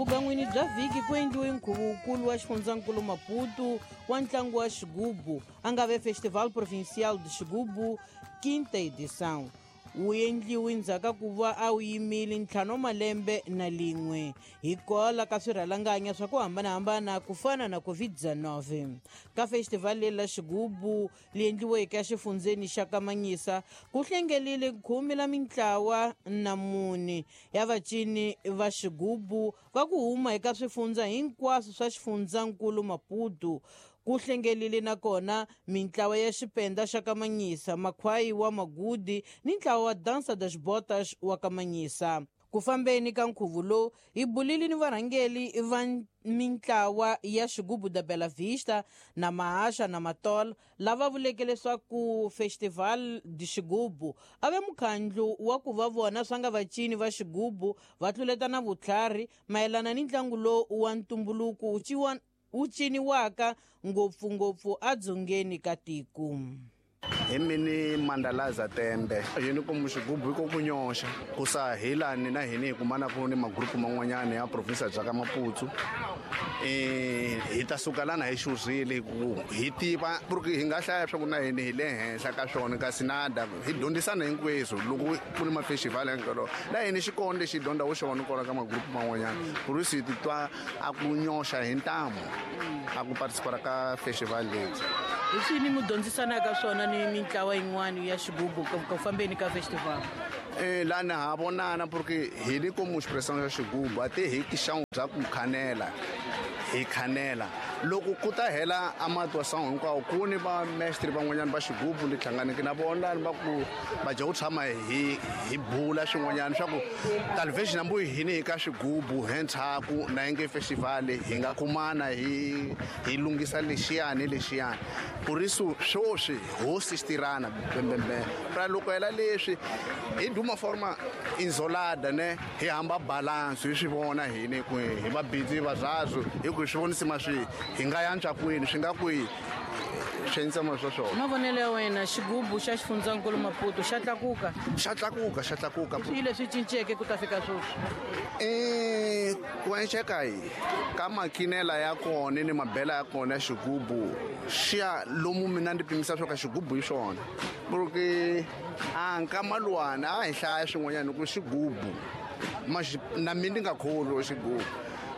Vugan'wini bya vhiki ku endliwe nkhuvo wukulu wa xifundzankulu Maputo wa ntlangu wa xigubu, a nga ve Festival Provincial de Xigubu quinta edição. Wu endliwe ndzhaku ka ku va a wu yimile ntlhanu wa malembe na lin'we hikwalaho ka swirhalanganya swa ku hambanahambana ku fana na COVID-19. Ka festival leyi la xigubu li endliweke exifundzeni xa Kamanyisa ku hlengelile khume la mintlawa na mune ya vacini va xigubu va ku huma eka swifundza hinkwaswo swa xifundzankulu Maputo. Ku hlengelile nakona mintlawa ya xipenda xa Kamanyisa, makhwayi wa Magudi ni ntlawa wa Dança das Botas wa Kamanyisa. Ku fambeni ka nkhuvo lowu hi bulile ni varhangeli va mintlawa ya xigubu da Bela Vista na Mahasha na Matola lava vuleke leswaku Festival de Xigubu a ve mukhandlu wa ku va vona swa nga vacini va xigubu va tluletana vutlhari mayelana ni ntlangu lowu wa ntumbuluko wu ciniwaka ngopfungopfu edzongeni ka tiko. Hi mini Mandalaza Tembe yini ku xigubu ko ku nyoxa ku sa hilani na hini hi kumana ku ni magrupu man'wanyana ya province bya ka Maputo. Hi ta suka lana hi xuzile ku hi tiva ku hi nga hlaya swa ku na hini hi le henhla ka swona kasi nada hi dyondzisana hinkweswo loko ku ni mafestival hinkwawo la hini xikolo lexi dyondzaku xona kona ka magrupu man'wanyana ku ri swi titwa a ku nyoxa hi ntamu a ku participara ka festival leyi. Hi swini mi dyondzisanaka swona ni mintlawa yin'wana ya xigubu ku fambeni ka festival? Lana ha vonana porque hi ni como expressão ya xigubu a te hi xangu bya ku khanela hi khanela loko ku ta hela a matwa sangu hinkwawo ku ni va mestre van'wanyana va xigubu ni hlanganeke na vona va ku va dya ku tshama hi bula swin'wanyana swa ku talvez na mbuyi hini hi ka xigubu hentshaku na yinge festival hi nga kumana hi lunghisa lexiyani lexiyani por isso swoswi hosi xitirana bembembe pra loko hela leswi hi duma forma isolada ne hi hamba balance hi swi vona hini ku hi va busy va zwazo hi ku swi vonisa maswi hi nga yantswa kwini swi nga kwihi swi ma swa swona. Mavonelo ya wena xigubu xa xifundzankulu Maputo xa tlakuka? Xa tlakuka, xa tlakuka. Swi leswi cinceke ku ta fika sweswi? Ku enceka hi ka makinela ya kona ni mabela ya kona ya xigubu xiya lomu mina ndi pimisa swa ka xigubu hi swona porque a nkama luwana a hi hlaya swin'wanyana ku xigubu na mina ndi nga kholwi xigubu.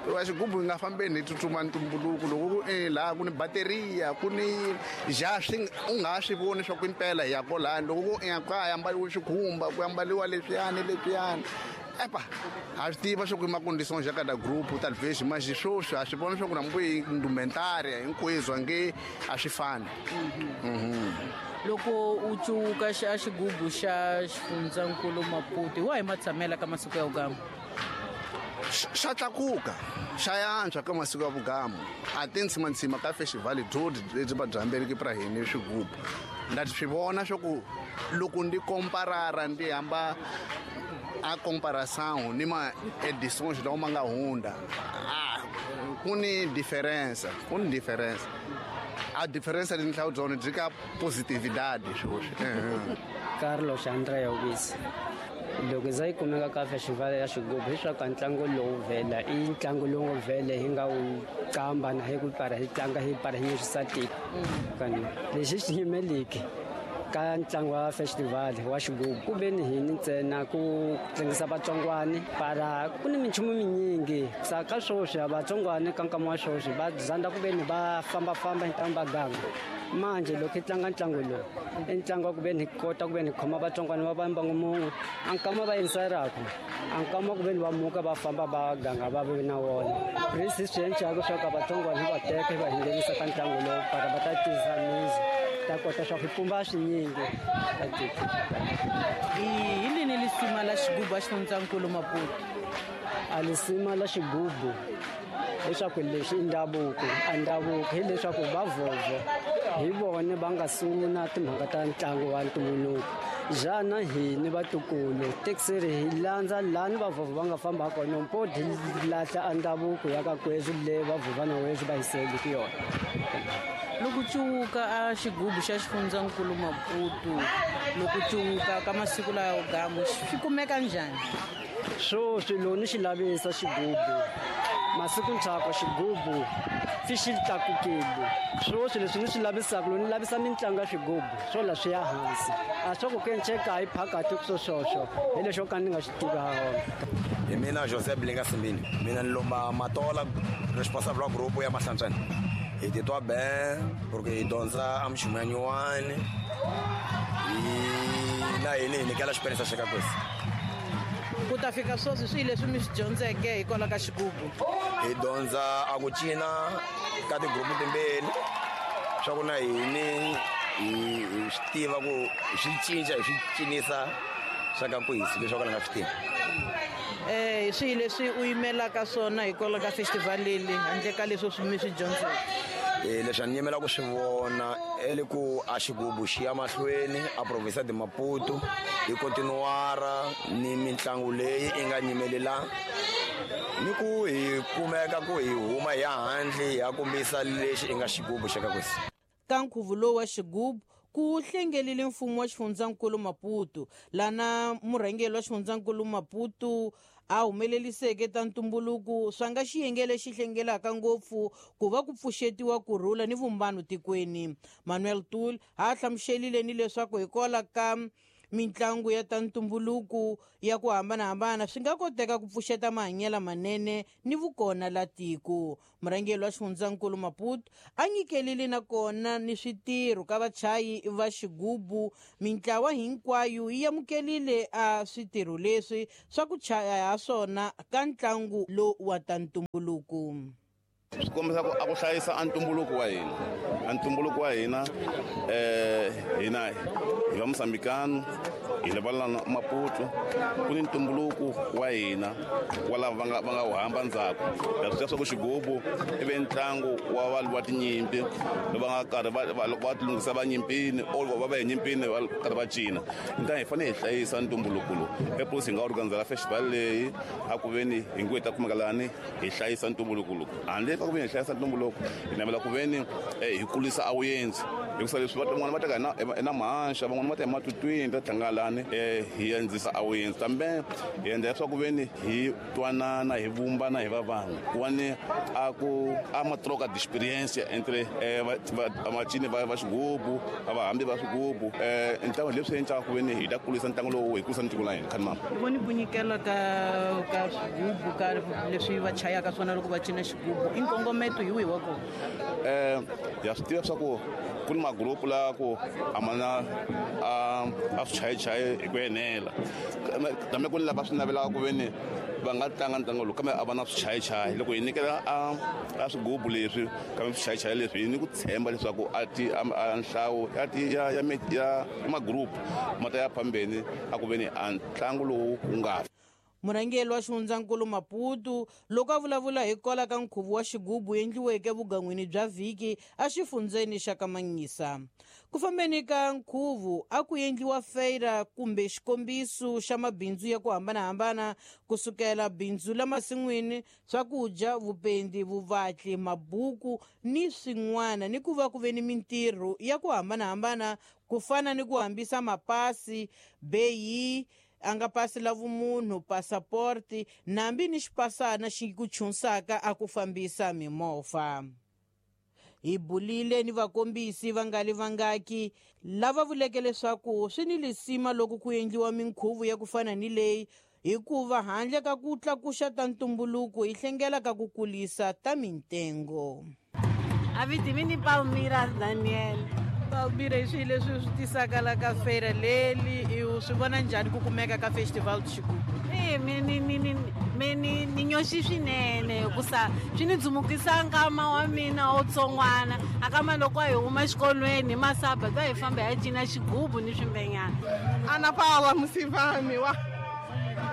Wa xigubu hi nga fambeni hi tsutsuma ntumbuluko loko ku laha ku ni bateriya ku ni ja swi u nga swi voni swa ku impela hi ya kolani loko ku ka ya ambaliwe xikhumba ku ambaliwa leswiyani leswiyani epa ha swi tiva swa ku i maconditions ya kada group talvez mas swoswi ha swi vona swa ku na mbuyi indumentaria hinkweswo nge a swi fani. Loko u cuka a xigubu xa xifundzankulu Maputo hi wahi matshamela ka masiku ya vugamu? Xa tlakuka xa yantswa ka masiku ya vugamu a ti ntsimantsima ka festival dyodi lebyi va dyambeleke pra hini swigubu nda swi vona swa ku loko ndi komparara ndi hamba a comparação ni ma edições lawa ma nga hundza ku ni diferença ku ni diferença a diferença ni nhlawu byona byi ka positividade swoswi. Carlos André Obis loko za yi kumeka ka festival ya xigubu hiswaku ntlangu lowu vhela i ntlangu lowu nga vhele hi nga wu qamba na hi ku para hi tlanga hi para hi nyisisa tiko kani lexi xi yimeliki ka ntlangu wa festival wa xigubu ku ve ni hini ntsena ku tlangisa vatsongwani para ku ni minchumu minyingi sa ka swoswi a vatsongwani ka nkama wa swoswi va zanda ku ve ni va fambafamba hi ntlangu va ganga manje loko hi tlanga ntlangu lowu i ntlangu wa ku ve ni kota ku ve ni khoma vatsongwani va va mbangu mun'we a nkama va yingiselaku a nkama ku ve ni va muka va famba va ganga va ve na wona risi swi endlaku swa ka vatsongwani hi va teka hi va nghenisa ka ntlangu lowu para va ta tisa mizi ta kota swa ku pumba swinyingi ka tiko. Hi lini lisima la xigubu a xifundzankulu Maputo? A lisima la xigubu leswaku lexi i ndhavuko a ndhavuko hileswaku va vhovho hi vone va nga sungula timhaka ta ntlangu wa ntumbuluko jana hini vatukulu tekiseri hi landza lani vavhovho va nga famba kona mpo hi lahla a ndhavuko ya ka kweswi le vavhovha na weswi va hiseliki yona. Loko cuwuka a xigubu xa xifundzankulu Maputo Loko cuka ka masiku lawa gamu swi kumeka njhani? Sweswi loko ni xi lavisa xigubu masiku ndzhaku xigubu swi xi tlakukile. Sweswi leswi ni swi lavisaka loko ni lavisa mitlangu ya swigubu swo la swi ya hansi, a swa ku kenceka hi phakathi ku swoswoswo hi lexo ka ni nga swi tivi ha wona. Hi mina Joseph Bilinga Simbini, mina ni lomba Matola, responsable wa grupo ya Mahlantswana. Hi titwa ben porque hi dyondza a minchumu ya nyuwani, hi na hini hi nyikela xiphenisa xa ka kwesi. Ku ta fika sweswi swi leswi mi swi dyondzeke hikwalaho ka xigubu? Hi dyondza a ku cina ka tigrupu timbirhi, swa ku na hini hi swi tiva ku hi swi cinca hi swi cinisa swa ka kwesi leswi ka ni nga swi tivi. Swi leswi u yimelaka swona hikwalaho ka festival leyi handle ka leswi mi swi dyondzeke? Leswi a ni yimela ku swi vona e le ku a xigubu xi ya mahlweni a province de Maputo hi continuara ni mitlangu leyi i nga nyimelela, ni ku hi kumeka ku hi huma hi ya handle hi ya kombisa lexi i nga xigubu xa ka kwesi. Ka nkhuvo lowu wa xigubu ku hlengelile mfumo wa xifundzankulu Maputo, lana murhangeri wa xifundzankulu Maputo a humeleliseke ta ntumbuluko swa nga xiyenge lexi hlengelaka ngopfu ku va ku pfuxetiwa kurhula ni vumbano tikweni. Manuel Tul a hlamuselile ni leswaku hikwalaho ka mitlangu ya ta ntumbuluko ya ku hambanahambana swi nga koteka ku pfuxeta mahanyelo manene ni vukona la tiko. Murhangeri wa xifundzankulu Maputo a nyikelile nakona ni switirho ka vachayi va xigubu. Mintlawa hinkwayo yi amukelile a switirho leswi swa ku chaya ha swona ka ntlangu lowu wa ta ntumbuluko. Swi kombisa ku a ku hlayisa a ntumbuluko wa hina, a ntumbuluko wa hina hina hi va Mozambikano, hi le va la Maputo, ku ni ntumbuluko wa hina wa lava va nga wu hamba ndzhaku. Ha swi tiva swa ku xigubu i ve ntlangu wa valwi va tinyimpi lava nga karhi loko va tilunghisa va nyimpini or va va hi nyimpini va karhi va cina. Ntanga hi fanele hi hlayisa ntumbuluko lowu. Eposi hi nga organizela festival leyi a ku veni hi ngo hi ta kumeka lani hi hlayisa ntumbuluko lowu. Handle ka ku veni hi hlayisa ntumbuluko, hi navela ku veni hi kulisa a vuyenzi, hikusa leswi van'wana va teka hi na mahaxa, van'wana va ta hi matutwini, ta tlanga lani hi andzisa a vuyenzi. Kambe hi endla leswaku veni hi twanana, hi vumbana, hi va vanhu. Ku va ni a ku a ma troca d'experience entre vacini va xigubu, a vahambi va swigubu. Ntlangu leswi endlaka ku veni hi ta kulisa ntlangu lowu, hi kulisa tiko la hina. Khani mama. Voni ku nyikela ka swigubu, ka leswi va chayaka swona loko va cina xigubu, i nkongometo hi wihi wa kona? Ya swi tiva swa ku ku ni magrupu la ku a ma na a swi chayichayi hi ku enela, kambe ku ni lava swi navelaka ku veni va nga tlanga ntlangu lowu kambe a va na swichayichayi. Loko hi nyikela a swigubu leswi kambe swichayichayi leswi, hi ni ku tshemba leswaku a ti, a, a nhlayo ya ti, ya, ya, ya, ya magrupu ma ta ya phambeni a ku veni a ntlangu lowu wu nga fi. Murhangeri wa xifundzankulu Maputo loko a vulavula hi kwala ka nkhuvo wa xigubu endliweke vugan'wini bya vhiki exifundzeni xa Kamanyisa. Ku fambeni ka nkhuvo a ku endliwa feira kumbe xikombiso xa mabindzu ya ku hambanahambana, kusukela bindzu la masin'wini, swakudya, vupendi, vuvatli, mabuku ni swin'wana, ni ku va ku ve ni mintirho ya ku hambanahambana ku fana ni ku hambisa mapasi, beyi, a nga pasi la vumunhu, passaporti, nambi ni xipasana xi ku chunsaka a ku fambisa mimovha. Hi bulile ni vakombisi va nga li vangaki lava vuleke leswaku swi ni lisima loko ku endliwa minkhuvo ya ku fana ni leyi, hikuva handle ka ku tlakuxa ta ntumbuluko hi hlengela ka ku kulisa ta mintengo. Avitimini Palmira Daniel. Palmira, hi swihi leswi swi tisaka la ka feira leli? I swi vona njhani ku kumeka ka festival xigubu? Me ni, ni, ni, me ni, ni nyoxi swinene, hikusa swi ni dzumukisa nkama wa mina wo tsongwana. A kama loko a hi huma exikolweni hi masaba, ta hi famba hi ya cina xigubu ni swimbenyana. Ana Paula Musivami wa.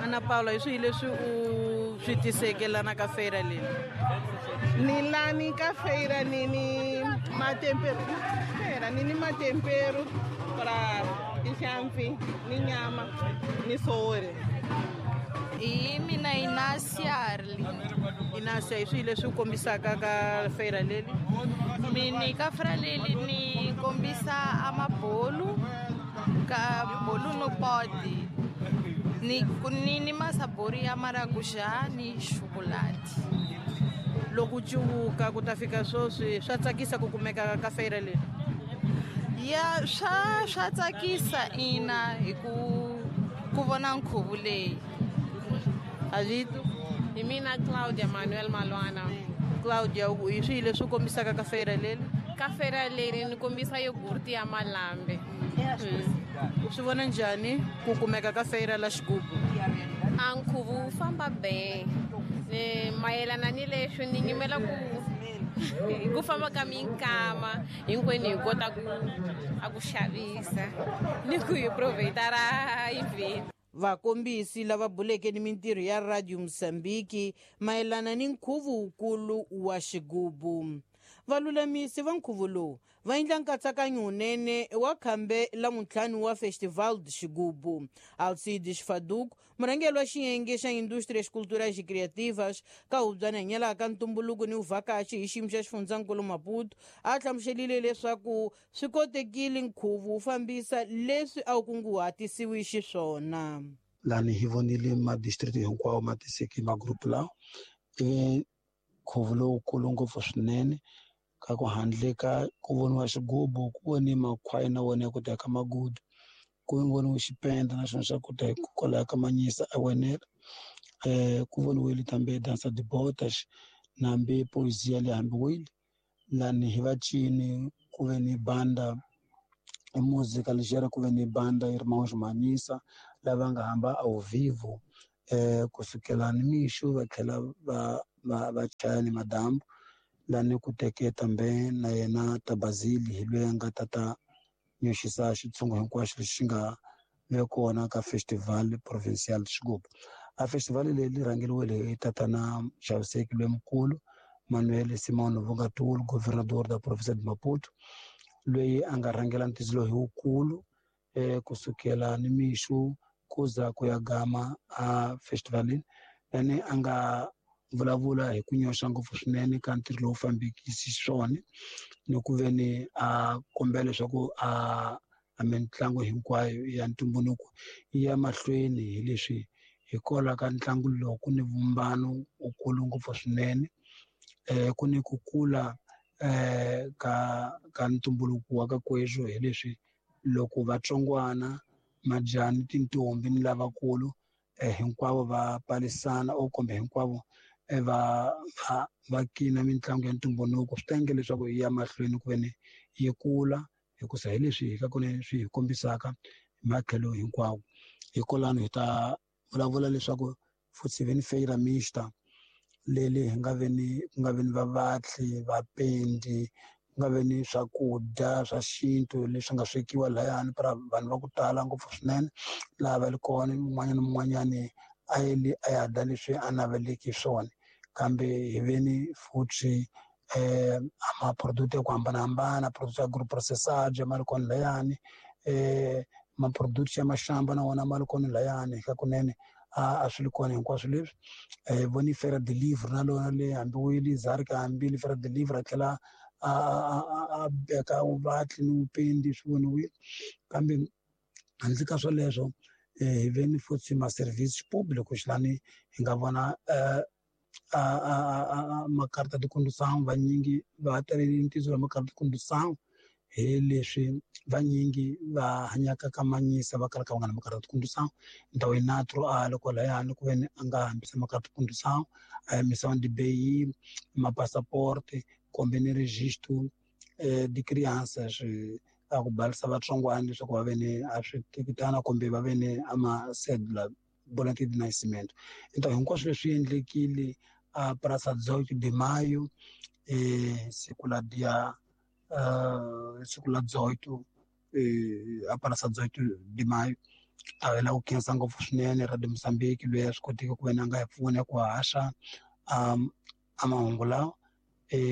Ana Paula, hi swihi leswi u swi tiseke lana ka feira leyi? Ni lani ka feira ni ni matempero. Feira ni ni matempero pra tinhlampfi ni nyama ni sowore. Hi mina Inasia Arli. Inasia, hi swihi leswi u kombisaka ka feira leli? Mina ka feira leli ni kombisa amabolu, Ka bolo no pode. Ni masabori ya maracujá ni chocolate. Loko cuvuka ku ta fika sweswi swa tsakisa ku kumeka ka feira leyi? Ya, swa tsakisa ina hi ku vona nkhuvo leyi. Avito? Hi mina Claudia Manuel Malwana. Claudia, hi swihi leswi kombisaka ka feira leri? Ka feira leri ni kombisa yogurt ya malambe. U swi vona njhani ku kumeka ka feira la xigubu? A nkhuvo wu famba be. Mayelana ni leswi ni nyimela ku famba ka minkama hinkwenu hi kota ku a ku xavisa ni ku hi provide-ra event. Vakombisi lava buleke ni mintirho ya Radio Mozambique mayelana ni nkhuvo wukulu wa xigubu. Valulamisi va nkhuvo lowu va endla nkatsakanyo wunene wa khambe la muntlhanu wa Festival de Xigubu. Alcides Faduco, murhangeri wa xiyenge xa Indústrias Culturais e Criativas ka hubyana hanyelaka ntumbuluko ni vuvhakachi hi xiyimo xa xifundzankulu Maputo, a hlamuselile leswaku swi kotekile nkhuvo wu fambisa leswi a wu kunguhatisiwi xiswona. Lani hi vonile madistrict hinkwawo ma tiseke magrupu lawa ivi nkhuvo lowukulu ngopfu swinene ka ku handle ka ku voniwa xigubu, ku voni makhwaya na wona ya ku ta ka magudu, ku voniwe xipenda na xona xa ku ta kwalaya ka Manyisa a wenela, ku voniwile tambe dansa de botas nambe poesia le hambiwile lani hi vacini ku ve ni banda música ligera ku ve ni banda Irmãos Manyisa lava nga hamba ao vivo kusukela ni mixo va tlhela va chaya ni madambu lani ku teke tambe na yena Tabazili hi loyi a nga tata nyoxisa xitshungu hinkwaxo lexi nga ve kona ka Festival Provincial Xigubu. A festival leyi li rhangeriwile hi tatana Xaviseki loyi Manuel Simão Vungatul, governador da província de Maputo, loyi a nga rhangela ntidzilo hi wukulu kusukela ni mixo ku za ku ya gama a festivalini lani a nga vulavula hi ku nyoxa ngopfu swinene ka ntirho lowu fambekisi swona ni ku ve ni a kombela leswaku a mitlangu hinkwayo ya ntumbuluko yi ya mahlweni hi leswi hikwalaho ka ntlangu lowu ku ni vumbano wukulu ngopfu swinene, ku ni ku kula ka ntumbuluko wa ka kweswo hi leswi loko vatsongwana majani tintombi ni lavakulu hinkwavo va palisana o kumbe hinkwavo va kina mitlangu ya ntumbuluko swi ta endla leswaku yi ya mahlweni ku ve ni yi kula hikusa hi leswi hi ka kona swi hi kombisaka hi matlhelo hinkwawo. Hikwalano hi ta vulavula leswaku futhi ve ni feira mixta leli hi nga ve ni ku nga ve ni vavatli vapendi ku nga ve ni swakudya swa xintu leswi nga swekiwa lahayani para vanhu va ku tala ngopfu swinene laha va li kona un'wanyana na un'wanyani a yeli a ya dya leswi a naveleki swona kambe hi ve ni futhi maproduct ya ku hambanahambana product ya agro processage ma ri kona layani, maproduct ya maxamba na wona ma ri kona layani ka kunene a swi ri kona hinkwaswo leswi. Voni Feira de Livre na lona le hambiwile Zarika hambile Feira de Livre a tlhela a beka vuvatli ni vupendi swi voniwile kambe handle ka swoleswo hi ve ni futhi ma-service público xilani hi nga vona makarata de condução vanyingi va talele ntizo wa makarata de condução hi leswi vanyingi va hanyaka ka Manyisa va kalaka va nga na makarata de condução ndhawu yi natro a loko layani ku ve ni a nga hambisa makarata de condução a yimisa ndibeyi mapassaporte kumbe ni registro de crianças a ku balisa vatsongwana leswaku va ve ni a switekitana kumbe va ve ni a ma-cédula boletim de nascimento. Então hinkwaswo leswi endlekile a Praça 18 de Maio, siku la dia siku la 18 a Praça 18 de Maio a hela ku khensa ngopfu swinene Radio Mozambique loyi a swi koteke ku ve ni a nga hi pfuna ku haxa a mahungu lawa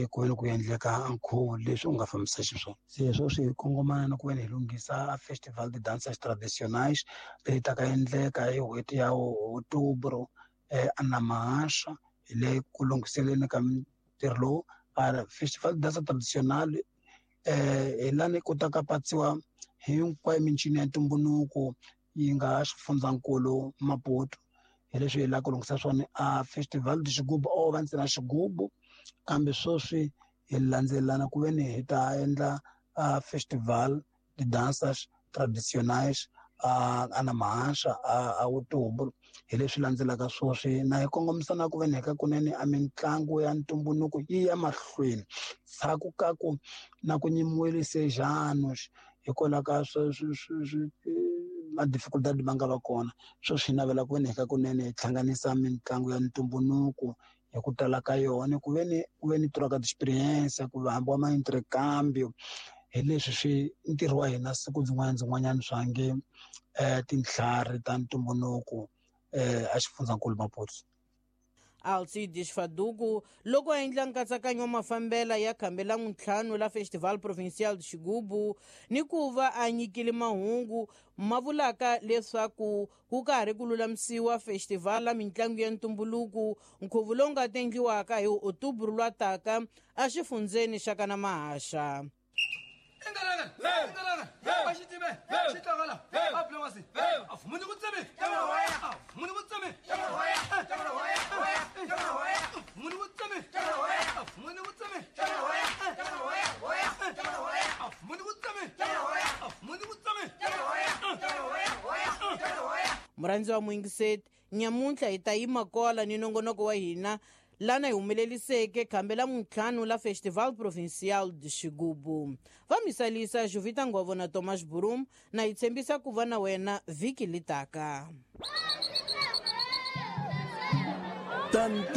ku ve ni ku endleka nkhuvo leswi u nga fambisa xiswona. Se sweswi hi kongomana na ku ve ni hi lunghisa a Festival de Danças Tradicionais leyi taka endleka hi n'hweti ya Outubro a Namahasha hi le ku lunghiseleni ka ntirho lowu. Festival de Dança Tradicional hi lani ku ta ka patsiwa Hinkwayo mincino ya ntumbuluko yi nga xifundzankulu Maputo. Hi leswi hi lava ku lunghisa swona a Festival de Xigubu o va ntsena xigubu, kambe sweswi hi landzelelana ku ve ni hi ta endla a Festival de Danças Tradicionais a na mahaxa a outubro. Hi leswi landzelaka sweswi na hi kongomisa na ku ve ni hi ka kunene a mitlangu ya ntumbuluko yi ya mahlweni ndzhaku ka ku na ku nyimiwile sejanos hikwalaho ka ma-dificultad ma nga va kona. Sweswi hi navela ku ve ni hi ka kunene hi hlanganisa mitlangu ya ntumbuluko hi ku tala ka yona, ku ve ni ku ve ni troca de experiência, ku hambiwa ma-intercambio. Hi leswi swi ntirho wa hina siku byin'wana byin'wanyana swa nge tintlhari ta ntumbuluko a xifundzankulu Maputo. Alcides Faduku loko a endla nkatsakanyo wa mafambela ya khambe la ntlhanu la Festival Provincial de Xigubu, ni ku va a nyikile mahungu ma vulaka leswaku ku ka ha ri ku lulamisiwa festival la mitlangu ya ntumbuluko, nkhuvo lowu nga ta endliwaka hi Outubro lwa taka exifundzeni xa kana Mahaxa. Murhandzi wa muyingiseti, nyamuntlha hi ta yima kola ni nongonoko wa hina lana hi humeleliseke khambe la muntlhanu la Festival Provincial de Xigubu. Va misalisa Juvita Ngovo na Thomas Burum, na hi tshembisa ku va na wena vhiki litaka. Ta ntumbuluko.